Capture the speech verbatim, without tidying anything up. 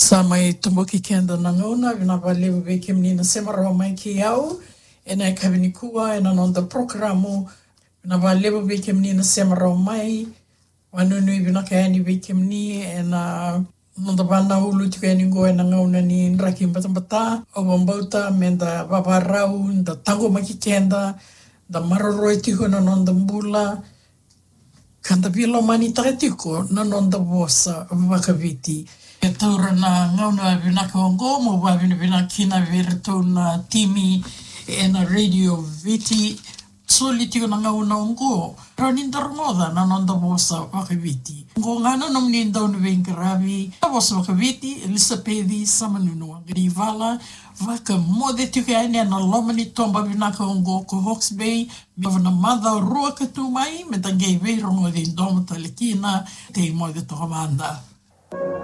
Sa mai toboki keda na gauna, vinaka vakalevu vei kemuni na sema rawa mai kei au ena yakavi nikua ena noda porokaramu. Vinaka vakalevu vei kemuni na sema rawa mai. Vakanuinui vinaka yani vei kemuni ena noda vanaulu tiko yani qo ena gauna ni draki batabata. Au vakabauta meda vavarau, da taqomaki keda, da maroroi tiko na noda bula, ka da veilomanitaka tiko na noda vosa vakaviti. E taura na gauna vinaka oqo mo vakavinavinaka kina vei iratou na timi ena Radio Viti. Soli tiko na gauna oqo, rawa ni da rogoca na noda vosa vakaviti. Oqo ga na nomuni dauniveiqaravi na vosa vakaviti, Elisapeci Samanunu Waqanivala, vakamoce tiko yani ena loma ni toba vinaka oqo ko Hawke's Bay, me yacova na macawa rua ka tu mai, meda qai veirogoci domo tale kina. Tei moce toka mada.